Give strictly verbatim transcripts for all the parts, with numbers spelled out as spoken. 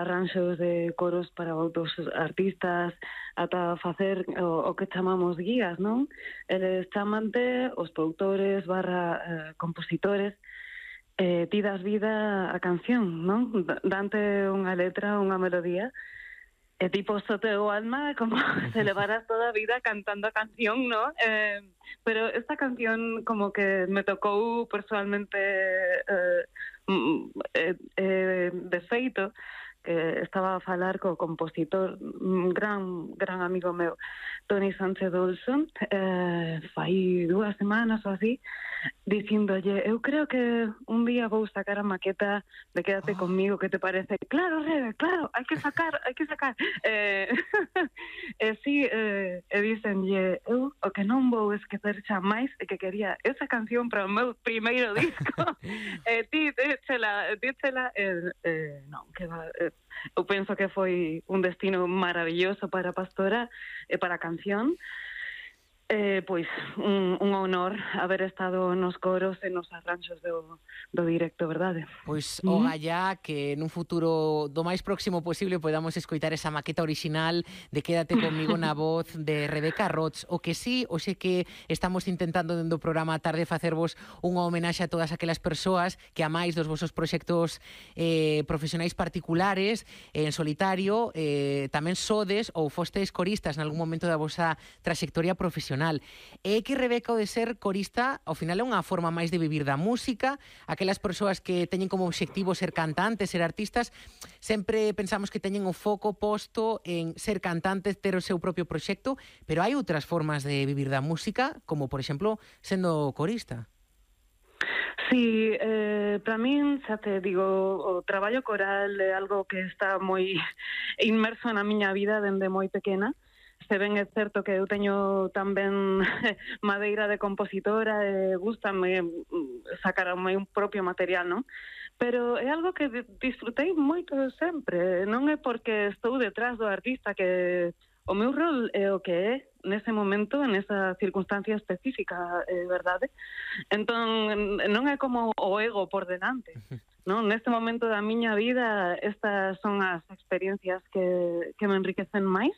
arranxos de coros para outros artistas, ata facer o, o que chamamos guías, non? Eles chamante os produtores barra eh, compositores, eh, ti das vida a canción, non? Dante unha letra, unha melodía, e tipo sote o alma como se levaras toda a vida cantando a canción, ¿no? Eh, pero esta canción como que me tocou personalmente eh, eh, eh, de feito, que estaba a falar co compositor, un gran gran amigo meu, Toni Sánchez Olson, eh, fai dúas semanas ou así, dicíndolle, eu creo que un día vou sacar a maqueta de Quédate oh. conmigo, que te parece? Claro, Rebe, claro, hai que sacar, hai que sacar. Eh, e si, eh, e dicenlle, eu o que non vou esquecer xa máis é que quería esa canción para o meu primeiro disco. E ti, díchela, díchela, eh, eh, non, que va... Eh, eu penso que foi un destino maravilloso para a Pastora e para a canción. Eh, pois un, un honor haber estado nos coros e nos arranxos do, do directo, verdade? Pois o gallá que nun futuro do máis próximo posible podamos escoitar esa maqueta orixinal de Quédate conmigo na voz de Rebeca Roch. O que sí, hoxe que estamos intentando dentro do programa a tarde facervos unha homenaxe a todas aquelas persoas que a máis dos vosos proxectos eh, profesionais particulares en solitario eh, tamén sodes ou fostes coristas en algún momento da vosa trayectoria profesional. É que Rebeca, o de ser corista, ao final é unha forma máis de vivir da música. Aquelas persoas que teñen como obxectivo ser cantantes, ser artistas, sempre pensamos que teñen o foco posto en ser cantantes, ter o seu propio proxecto, pero hai outras formas de vivir da música, como, por exemplo, sendo corista. Sí, eh, para min, xa te digo, o traballo coral é algo que está moi inmerso na miña vida dende moi pequena. Se ben é certo que eu teño tamén madeira de compositora e gústame sacar o meu propio material, non? Pero é algo que disfrutei moito sempre. Non é porque estou detrás do artista que o meu rol é o que é nese momento, nesa circunstancia específica, é verdade? Entón, non é como o ego por delante. Non? Neste momento da miña vida, estas son as experiencias que, que me enriquecen máis.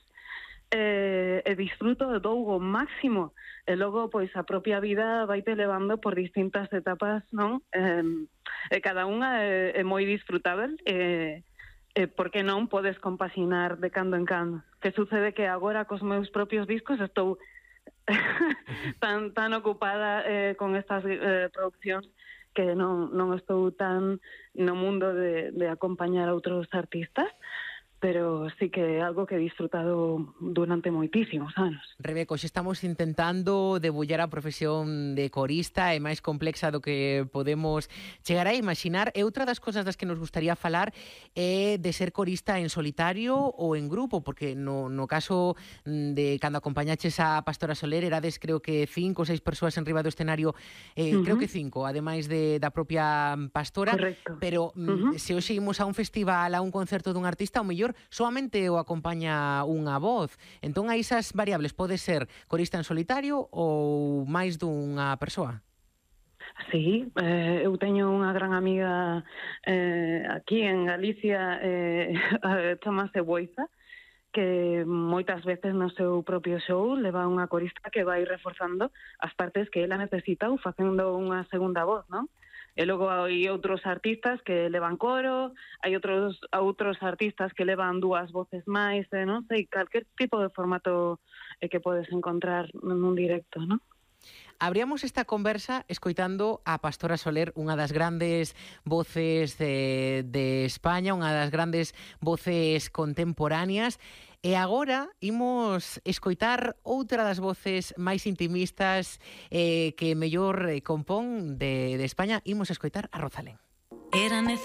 E, e disfruto de todo o máximo e logo pois a propia vida vaite levando por distintas etapas, non? E, e cada unha é, é moi disfrutável e, e por que non podes compaxinar de cando en cando. Que sucede que agora cos meus propios discos estou tan tan ocupada eh, con estas eh, produccións que non, non estou tan no mundo de, de acompañar a outros artistas, pero sí que é algo que he disfrutado durante moitísimos anos. Rebeca, hoxe estamos intentando debullar a profesión de corista, é máis complexa do que podemos chegar a imaginar. E outra das cosas das que nos gustaría falar é de ser corista en solitario ou en grupo, porque no, no caso de cando acompañaches a Pastora Soler erades creo que cinco ou seis persoas en riba do escenario, eh, uh-huh. creo que cinco, ademais de, da propia Pastora. Correcto. Pero uh-huh. se hoxe imos a un festival, a un concerto dun artista, o mellor solamente o acompaña unha voz. Entón, hai esas variables, pode ser corista en solitario ou máis dunha persoa? Sí, eh, eu teño unha gran amiga eh, aquí en Galicia, eh, chamase Boiza, que moitas veces no seu propio show leva unha corista que vai reforzando as partes que ela necesita ou facendo unha segunda voz, non? E logo hai outros artistas que levan coro, hai outros outros artistas que levan dúas voces máis, eh, non sei, calquer tipo de formato eh, que podes encontrar nun directo, non? Abríamos esta conversa escoitando a Pastora Soler, unha das grandes voces de, de España, unha das grandes voces contemporáneas. E agora imos escoitar outra das voces máis intimistas eh, que mellor compón de, de España. Imos escoitar a Rosalén. Era